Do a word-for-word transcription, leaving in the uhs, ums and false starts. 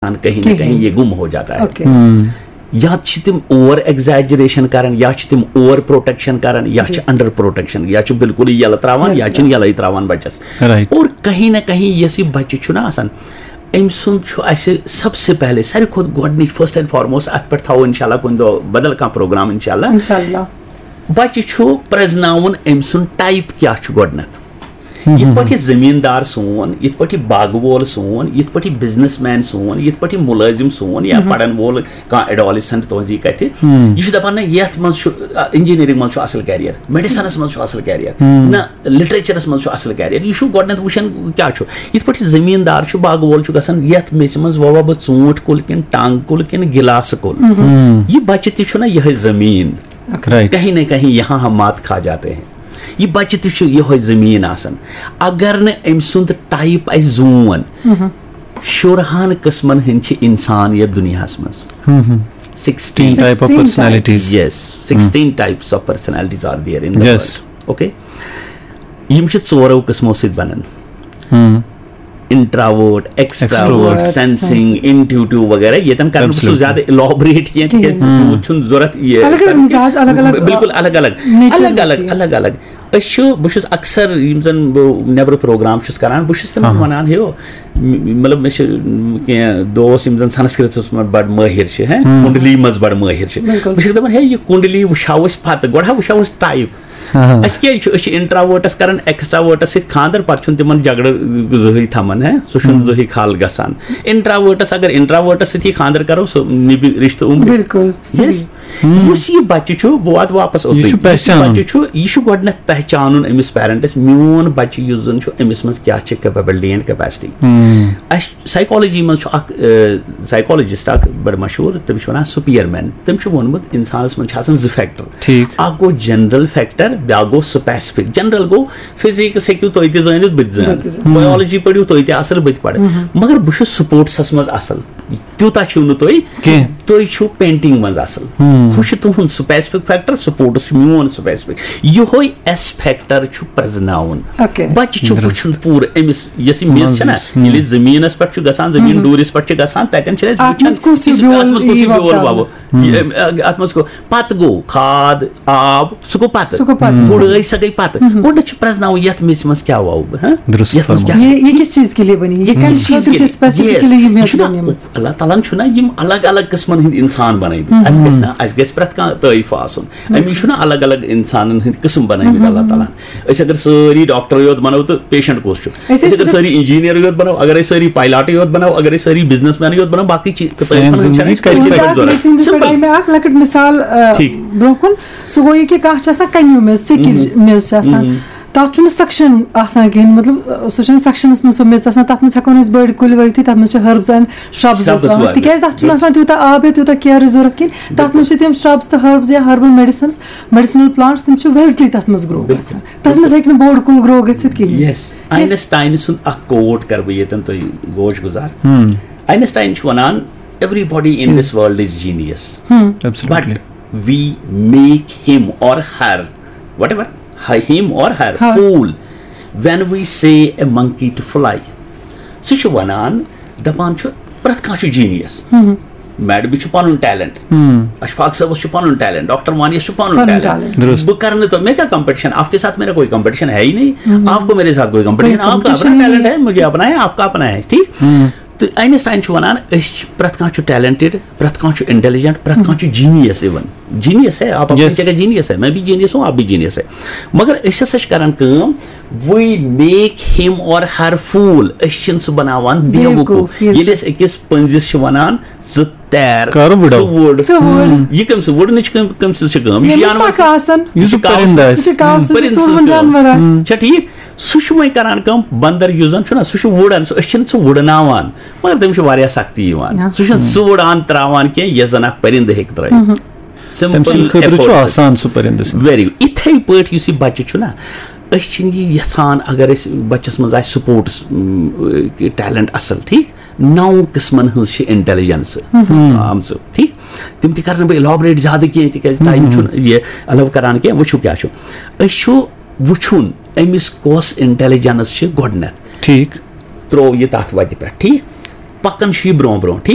انسان کہیں نہ کہیں یہ گم ہو جاتا ہے۔ اوکے۔ یا چھِ تِم اوور ایگزیجریشن کران، یا چھِ تِم اوور پروٹیکشن کران، یا چھِ انڈر پروٹیکشن، یا چھِ بالکل یلہٕ تراوان، یا چھِنہٕ یلہٕ تراوان بچس۔ Right۔ اور کہیں نہ کہیں یۄس یہِ بچہِ چھُنہ آسان، أمۍ سُنٛد چھُ اَسہِ سب سے پہلے، ساروی کھۄتہٕ گۄڈٕنِچ، فرسٹ اینڈ فارموسٹ، اَتھ پٮ۪ٹھ تھاوو انشاءاللہ کُنہِ دۄہ بدل کانٛہہ پروگرام انشاءاللہ۔ انشاءاللہ۔ بچہِ چھُ پرزناوُن أمۍ سُنٛد ٹائپ کیٛاہ چھُ گۄڈٕنٮ۪تھ۔ یِتھ پٲٹھۍ یہِ زٔمیٖندار سون، یِتھ پٲٹھۍ یہِ باغہٕ وول سون، یِتھ پٲٹھۍ یہِ بزنس مین سون، یِتھ پٲٹھۍ یہِ مُلٲزِم سون یا پرن وول کانٛہہ ایڈولسنٹ تُہنٛزی کتھِ، یہِ چھُ دپان، نہ، یتھ منٛز چھُ، آ، انجینئرنگ منٛز چھُ اصل کیریئر، میڈیسنس منٛز چھُ اصل کیریئر، نہ، لٹریچرس منٛز چھُ اصل کیریئر۔ یہِ چھُ گۄڈٕنیتھ وٕچھان کیٛاہ چھُ۔ یِتھ پٲٹھۍ یہِ زٔمیٖندار چھُ، باغہٕ وول چھُ گژھان، یتھ میژِ منٛز وَوٕ بہٕ ژوٗنٛٹھۍ کُل کِنہٕ ٹنٛگ کُل کِنہٕ گِلاسہٕ کُل۔ یہِ بچہِ تہِ چھُنہ یِہے زٔمیٖن۔ Right۔ کہیں نہ کہیں یہاں ہم مات کھا جاتے ہیں۔ یہِ بچہِ تہِ چھُ یِہوے زٔمیٖن آسان۔ اگر نہٕ أمۍ سُنٛد ٹائپ اَسہِ زون، شُرہَن قٕسمن ہٕنٛدۍ چھِ اِنسان یَتھ دُنیاہَس منٛز۔ Sixteen۔ Type of Sixteen personalities۔ Yes, sixteen types of personalities are there in the Yes۔ world. Okay؟ یِم چھِ ژورو قٕسمو سۭتۍ بنان۔ انٹراوٲٹ، ایکسٹراوٲٹ، Extrovert۔ سینسنگ، انٹیوٹیو وغیرہ۔ ییٚتٮ۪ن کرٕ نہٕ بہٕ سُہ Absolutely۔ زیادٕ الیبوریٹ کینٛہہ، تِکیازِ کِہیٖنۍ۔ تیوٗت چھُنہٕ ضوٚرتھ یہِ الگ الگ کرنُک۔ مزاج، الگ الگ، بالکل الگ الگ، nature الگ الگ، ہوتی ہے۔ الگ الگ۔ أسۍ چھِ، بہٕ چھُس اکثر یِم زن بہٕ نیبرٕ پروگرام چھُس کران، بہٕ چھُس تِمن ہاں۔ ونان، ہے، م-، مطلب مےٚ چھِ، م، کینٛہہ دوس یِم زن سنسکرتس منٛز بڑٕ مٲہِر چھِ، ہیں، کُنڈلی منٛز بڑٕ مٲہِر چھِ۔ بالکل۔ بہٕ چھُس دپان، ہے، یہِ کُنڈلی وٕچھاو أسۍ پتہٕ، گۄڈٕ ہا وٕچھاو أسۍ ٹایپ۔ ہاں۔ أسۍ کیٛازِ چھِ، أسۍ چھِ انٹراوٲٹس کران ایکسٹراوٲٹس سۭتۍ خانٛدر، پتہٕ چھُنہٕ تِمن جھگڑٕ زٕہٕے تھاوان، ہے، سُہ چھُنہٕ زٕہٕے خال گژھان۔ انٹراوٲٹس اگر انٹراوٲٹس سۭتۍ یہِ خانٛدر کرو، سُہ نِبہِ رشتہٕ عمرِ۔ بالکل، صحیح۔ Yes۔ یُس یہِ بچہِ چھُ، بہٕ واتہٕ واپس اوٚتُے۔ یہِ چھُ یُس یہِ پہچانُن۔ بچہِ چھُ، یہِ چھُ گۄڈٕنیتھ پہچانُن أمِس پیرنٹس، میون بچہِ یُس زن چھُ، أمِس منٛز کیٛاہ چھِ کیپیبلٹی اینڈ کیپیسٹی۔ ہم۔ اَسہِ سایکالجی منٛز چھُ اکھ، اے، سایکالجسٹ اکھ بڑٕ مشہوٗر، تٔمِس چھِ ونان سپیئر مین۔ تٔمۍ چھُ ووٚنمُت، انسانس منٛز چھِ آسان زٕ فیکٹر۔ ٹھیٖک۔ اکھ گوٚو جنرل فیکٹر، بیٛاکھ گوٚو سپیسفک۔ جنرل گوٚو فزکس ہیٚکِو تُہۍ تہِ زٲنِتھ، بہٕ تہِ زٲنہٕ۔ بہٕ تہِ زٲنہٕ۔ بایولجی پٔرِو تُہۍ تہِ اصل، بہٕ تہِ پرٕ۔ مگر بہٕ چھُس سپورٹسس منٛز اصل۔ تیوٗتاہ چھِو نہٕ تُہۍ کینٛہہ۔ تُہۍ چھِو پینٹنگ منٛز اصل۔ ہم۔ ہُہ چھُ تُہُنٛد سپیسفک فیکٹر، سپورٹس چھُ میون سپیسفک۔ یِہوے ایس فیکٹر چھُ پرزناوُن۔ اوکے۔ بچہِ چھُ درست۔ وٕچھُن پوٗرٕ أمِس، یۄس یہِ میٚژ چھےٚ نہ، منٛز یُس، ہم۔ ییٚلہِ أسۍ زٔمیٖنس پٮ۪ٹھ چھُ گژھان، زٔمیٖن ڈوٗرِس پٮ۪ٹھ چھِ گژھان، تَتٮ۪ن چھِ أسۍ اتھ منٛز وٕچھان کُس ہیوٗ یُس، بیول اتھ منٛز کُس یی ہیوٗ بیول وۄپداونہٕ؟ وَوو۔ یہِ، اتھ منٛز گوٚو، پتہٕ گوٚو کھاد، آب، سُہ گوٚو پتہٕ۔ سُہ گوٚو پتہٕ۔ گُڈٲے سۄ گٔے پتہٕ۔ گۄڈٕنٮ۪تھ چھُ پرزناوُن یتھ میٚژِ منٛز کیٛاہ وَوٕ بہٕ، ہاں؟ درست یتھ منٛز فرموو۔ کیٛاہ یہ یہ کس چیز کے لیے بنی؟ یہ کمہِ یہِ چیٖز خٲطرٕ چھِ کیٛاہ؟ Specifically Yes۔ یہِ یہِ میٚژ چھُنہ، بنیمٕژ؟ اللہ تعالیٰ ہن چھُنہ یِم الگ الگ قٕسمن ہٕنٛدۍ انسان بنٲومٕتۍ۔ اسہِ گژھِ نہ، اسہِ گژھِ پرٛٮ۪تھ کانٛہہ تعٲریٖف آسُن۔ أمِس چھُنہ الگ الگ انسانن ہٕنٛدۍ قٕسم بنٲومٕتۍ اللہ تعالیٰ ہن۔ أسۍ اگر سٲری ڈاکٹرٕے یوت بنو تہٕ پیشنٹ کُس چھُ؟ أسۍ أسۍ اگر ٲسۍ سٲری انجینئرٕے یوت بنو، اگر أسۍ سٲری پایلاٹٕے یوت بنو، اگر أسۍ سٲری بزنس مینٕے یوت بنو، باقٕے چیٖز، سٲنۍ زندگی کتہِ پٮ۪ٹھ گُزران؟ سِمپل۔ ٹھیٖک۔ برٛونٛہہ کُن۔ سُہ گوٚو یہِ کہِ کانٛہہ چھِ آسان کنیوٗ میٚژ، سِکِج میٚژ چھِ آسان۔ تَتھ چھُنہٕ سَکشَن آسان کِہیٖنۍ، مطلب، سُہ چھُنہٕ سَکشَنَس منٛز سۄ میٚژ آسان، تَتھ منٛز ہٮ۪کو نہٕ أسۍ بٔڑۍ کُلۍ وٲلتھٕے، تَتھ منٛز چھِ ۂربٕز اینڈ شرٛبٕز شرٛبٕز أسۍ وَوان، وَوان۔ تِکیٛازِ تَتھ چھُنہٕ آسان تیوٗتاہ آب یا تیوٗتاہ کیرٕچ ضوٚرَتھ کِہیٖنۍ، تَتھ منٛز چھِ تِم شرٛبٕز تہٕ ۂربٕز یا ہربل میڈیسنٕز، میڈیسنل پلانٹس، تِم چھِ ویزلی تَتھ منٛز گرو گژھان، تَتھ منٛز ہیٚکہِ نہٕ بوٚڑ کُل گرو گٔژھِتھ کِہیٖنۍ۔ یس، آینسٹاین سُنٛد اکھ کوٹ کرٕ بہٕ ییٚتٮ۪ن تۄہہِ گوش گُزار۔ آینسٹاین چھُ وَنان، everybody in this world is genius, Absolutely۔ but we make him or her, whatever, him or her, Her۔ fool when we say a monkey to fly. سُہ چھُ وَنان، دَپان چھُ، پرٛٮ۪تھ کانٛہہ چھُ جینیس۔ میڈمہِ چھُ پَنُن ٹیلنٹ، اشفاق صٲبَس چھُ پَنُن ٹیلنٹ، ڈاکٹر وانیس چھُ پَنُن پَنُن ٹیلنٹ۔ ٹیلنٹ۔ درست۔ بہٕ کَرٕ نہٕ تۄہہِ، مےٚ کیٛاہ کمپٹیشن؟ آپ کے ساتھ میرا کوئی کمپٹیشن ہے ہی نہیں۔ آپ کو میرے ساتھ کوئی کمپٹیشن، کوئی آپ کا کمپٹیشن اپنا ہی ٹیلنٹ نہیں۔ ہے، مجھے اپنا ہے، آپ کا اپنا ہے، ٹھیک؟ تو آئنسٹائن چھُ وَنان، أسۍ چھِ، پرٛٮ۪تھ کانٛہہ چھُ ٹیلنٹڈ، پرٛٮ۪تھ کانٛہہ چھُ انٹیلیجنٹ، پرٛٮ۪تھ کانٛہہ چھُ جینیس۔ اِون جینیس ہے، آپ اپنی Yes۔ جگہ جینیس ہے، میں بھی جینیس ہوں، آپ بھی جینیس ہے۔ مگر أسۍ ہسا چھِ کران کٲم، we make him or her fool، أسۍ چھِنہٕ سُہ بناوان بیوقوٗف۔ بیوقوٗف، yes۔ ییٚلہِ أسۍ أکِس پٔنٛزِس چھِ وَنان، ژٕ تیر، کر وٕڑو۔ ژٕ وُڑ۔ ژٕ وُڑ۔ یہِ کٔمۍ سٕنٛز وُڑنٕچ کٔمۍ، کٔمۍ سٕنٛز چھِ کٲم؟ یہِ چھُ ییٚمِس جانور پَکھ آسان۔ یُس یہِ چھُ کاوٕ پٔرِنٛدٕ سٕنٛز، آسہِ۔ یہِ چھُ کاوٕ سٕنٛز، پٔرِنٛدٕ سُہ سٕنٛز جانور کٲم۔ آسہِ۔ چھا ٹھیٖک؟ سُہ چھُ وۄنۍ کران کٲم، بندر یُس زن چھُنہ، سُہ چھُ وُڑان، سُہ، أسۍ چھِنہٕ سُہ وُڑناوان، مگر تٔمِس چھُ واریاہ سختی یِوان۔ یا۔ سُہ چھُنہٕ سُہ وُڑان تراوان کینٛہہ، یۄس زن اکھ پٔرِنٛدٕ ہیٚکہِ ترٲوِتھ۔ تٔمۍ سٕنٛدِ خٲطرٕ چھُ آسان سُہ پٔرِنٛدٕ سٕنٛدِ۔ ویری گُڈ۔ یِتھے پٲٹھۍ یُس یہِ بچہِ چھُنہ، أسۍ چھِنہٕ یہِ یژھان، اگر أسۍ بچس منٛز آسہِ سپورٹس ٹیلنٹ اصل، ٹھیٖک، نو قٕسمن ہٕنٛز چھِ انٹیلیجنس آمژٕ، ٹھیٖک۔ تِم تہِ کرٕ نہٕ بہٕ الیبوریٹ زیادٕ کینٛہہ، تِکیازِ ٹایم چھُنہٕ یہِ الو کران کینٛہہ۔ وٕچھِو کیٛاہ چھُ، أسۍ چھُ وٕچھُن أمِس کۄس انٹیلیجنس چھِ گۄڈٕنٮ۪تھ۔ ٹھیٖک۔ ترٛوو یہِ تَتھ وَتہِ پٮ۪ٹھ، ٹھیٖک۔ پکان چھُ یہِ برونٛہہ برونٛہہ، ٹھیٖک؟